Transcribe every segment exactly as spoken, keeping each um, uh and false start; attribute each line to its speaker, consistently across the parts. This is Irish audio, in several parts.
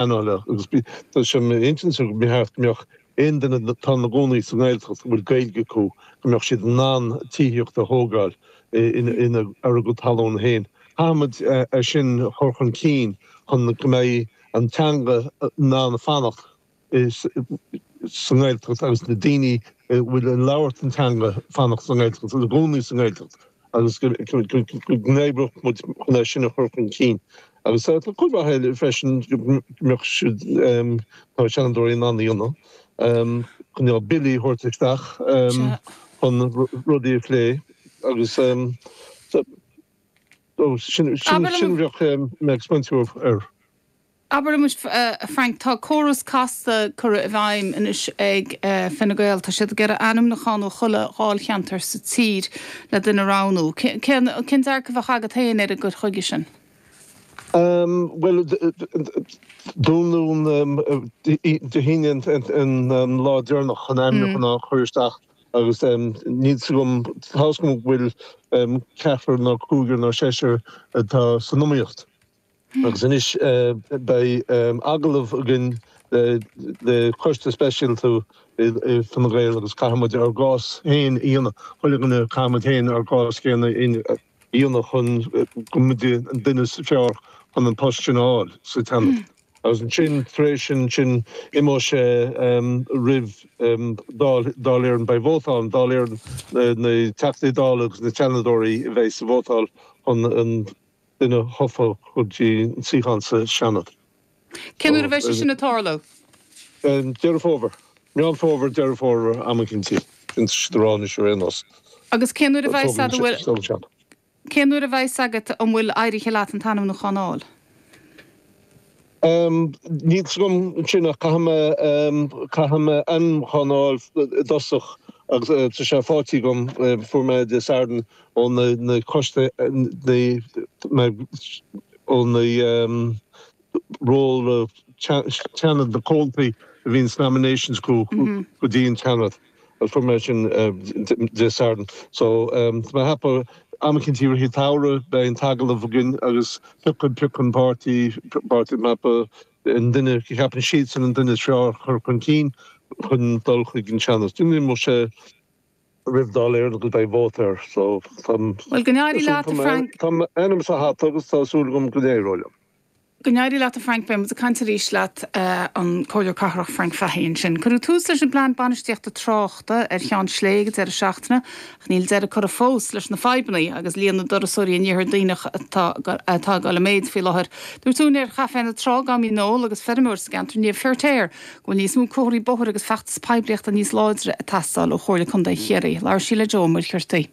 Speaker 1: pleanála agus tá sé intinn go mbeadh go mbeadh aon duine atá ina gcónaí sa nGaeltacht a bhfuil Gaeilge acu go mbeadh siad in ann tithíocht a thógáil ina ar a gcuid talún féin. Caithfimid é sin a chur chun cinn chun go mbeidh an teanga in ann fanacht sa nGaeltacht agus na daoine a bhfuil ag labhairt an teanga fanacht sa nGaeltacht ina gcónaí sa nGaeltacht agus go n-oibreodh muid chun é sin a chur chun cinn. Agus tá cuid mhaith eile freisin go mbeadh siad tá seanadóirí in ann a dhéanamh chun billí a thabhairt isteach chun rudaí a phlé agus sin sin bheadh mé ag smaointiú air.
Speaker 2: Abair liom, a Frank, tá córas casta curtha i bhfeidhm anois ag Fine Gael. Tá siad ag iarraidh ainmniúchán ó chuile dháilcheantar sa tír le duine a roghnú. Cén dearcadh a bheadh agat féin ar an gcur chuige sin?
Speaker 1: Bhuel, dúnadh Dé hAoine an lá deireanach chun ainmniúchán a chur isteach agus níl fhios agam, tá fhios agam go bhfuil ceathrar nó cúigear nó seisear atá san iomaíocht. Agus anois beidh agallamh againn le coiste speisialta i Fine Gael agus caithfidh muid ár gcás féin a dhéanamh, chuile dhuine caithfidh muid féin ár gcás féin a dhéanamh chun go mbeidh an duine is fearr chun an post sin a fháil sa tSeanad. Agus ansin tar éis sin sin imeoidh sé roimh Dáil Dáil Éireann, beidh vóta ann, Dáil Éireann na Teachtaí Dála agus na Seanadóirí a bheidh sa vótáil chun an duine a thoghadh go dtí an suíochán sa Seanad.
Speaker 2: Cén uair a bheidh sé sin ag tarlú?
Speaker 1: Deireadh Fómhair. Meán Fómhair, Deireadh Fómhair, am eicínt. Sin siad ag rá anois ar aon nós.
Speaker 2: Agus cén uair a bheidh a bhfuil Cén uair a bheidh agat an bhfuil éirithe leat an t-ainmniúchán a fháil?
Speaker 1: Níl fhios agam ansin ach caithfidh mé caithfidh mé ainmniúchán a fháil i dtosach agus tá sé faighte agam fuair mé Dé Sathairn ó na na coiste na ó na ról Seanad na comhaltaí a bhíonn sna nominations go go dtí an tSeanad. Fuair mé sin Dé Sathairn. So tá mé ag ceapadh am eicínt i rith an tsamhraidh beidh an t-agallamh againn agus piocfaidh piocfaidh an páirtí páirtí mapa an duine a cheapann siadsan an duine is fearr a chur chun cinn chun dul chuig an Seanad. Imeoidh sé roimh Dáil Éireann agus beidh vóta air. So
Speaker 2: tá Bhuel go n-éirí leat a Frank.
Speaker 1: Tá m'ainm sa hata agus tá súil agam go n-éireoidh liom.
Speaker 2: Go n-éirí leat a Frank, beidh muid ag caint arís leat, an Comhairleoir Cathrach Frank Fahey ansin. Cuireadh tús leis an bPlean Bainistíochta Tráchta ar Cheann Slé ag an deireadh seachtaine ach níl deireadh curtha fós leis na fadhbanna agus líon na dturasóirí in Iarthar Duibhneach atá ag dul i méid faoi láthair. Dúirt úinéir Chaifé na Trá, Gammy Noel agus feirmeoir sa gceantar Niamh Feirtéar go bhfuil níos mó comharthaí bóthair agus feachtas poiblíochta níos láidre ag teastáil ó Chomhairle Contae Chiarraí. Labhair sí le Joe Ó Muircheartaigh.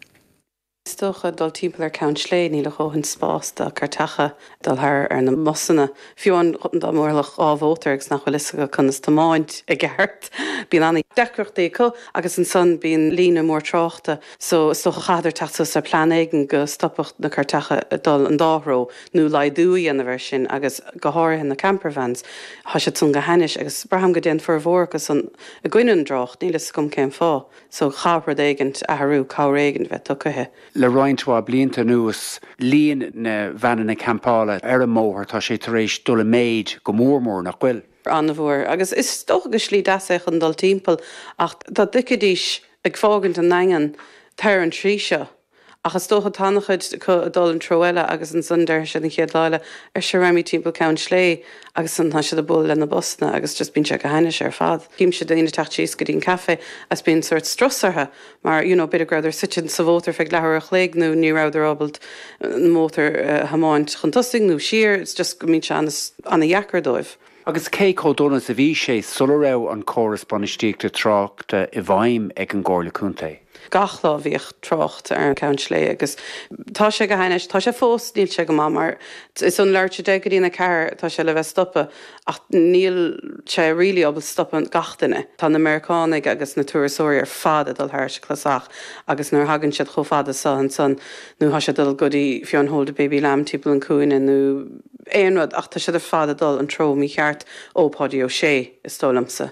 Speaker 3: Is dócha dul timpeall ar Ceann Slé, níl a dhóthain spás do cairteacha dul thar ar na mbusanna. Fiú amháin dá mbuailfeadh dhá mhótar agus nach bhfuil fhios acu conas tiomáint i gceart, bíonn an-deacrachtaí acu agus ansan bíonn líne mór tráchta. So is dócha chaithfeadar teacht suas le plean éigin go stopfadh na cairteacha ag dul an dá threo nó laghdú a dhéanamh air sin agus go háirithe na campervans, tá siad san go hainnis agus braithim go dtéann formhór acu san i gcoinne an dtrácht, níl fhios agam cén fáth. So chaithfeadh rud éigint athrú, cabhair éigint bheith tugtha.
Speaker 4: Le roinnt mhaith blianta anuas, líon na veaineanna campála ar an mbóthar, tá sé tar éis dul i méid go mór mór, nach bhfuil?
Speaker 3: An-mhór. Agus is dócha gur slí deas é chun dul timpeall ach dá dtiocfaidís ag fágaint an nDaingean tar an tslí seo, Ach is dócha tá an-chuid acu ag dul an treo eile agus ansan déarfaidh siad an chéad lá eile, ar sure raghaimid timpeall Ceann Slé agus ansan tá siad ag bualadh le na busanna agus just bíonn sé go hainnis ar fad. Címse daoine ag teacht síos go dtí an caife agus bíonn sórt strus orthu mar you know b'fhéidir go rabhadar suite sa mhótar feadh leathuair a chloig nó ní rabhadar ábalta an mótar a thiomáint chun tosaigh nó siar, it's just go mbíonn sé an-dheacair dóibh.
Speaker 4: Agus cé chomh dona is a bhí sé sula raibh an córas bainistíochta tráchta i bhfeidhm ag an gComhairle Contae?
Speaker 3: Gach lá bhíodh trácht ar an Ceann Slé agus tá sé go hainnis, tá sé fós, níl sé go maith mar is ón leathuair tar éis a deich go dtí a ceathair atá sé le bheith stoptha ach níl sé really ábalta stopadh gach duine. Tá na Meiriceánaigh agus na turasóirí ar fad ag dul thairis an clasach agus nuair a thagann siad chomh fada so ansan nó tá siad ag dul go dtí fiú an Hold the Baby Lamb timpeall an cúinne nó aon rud ach tá siad ar fad ag dul an treo mícheart ó Páidí Ó Sé, is dóigh liomsa.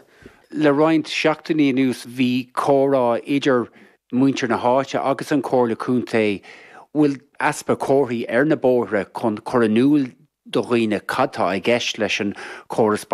Speaker 4: Le roinnt seachtainí anuas bhí comhrá idir muintir na háite agus an Chomhairle Contae. Bhfuil easpa comharthaí ar na bóithre chun cur in iúl do dhaoine cad tá i gceist leis an chóras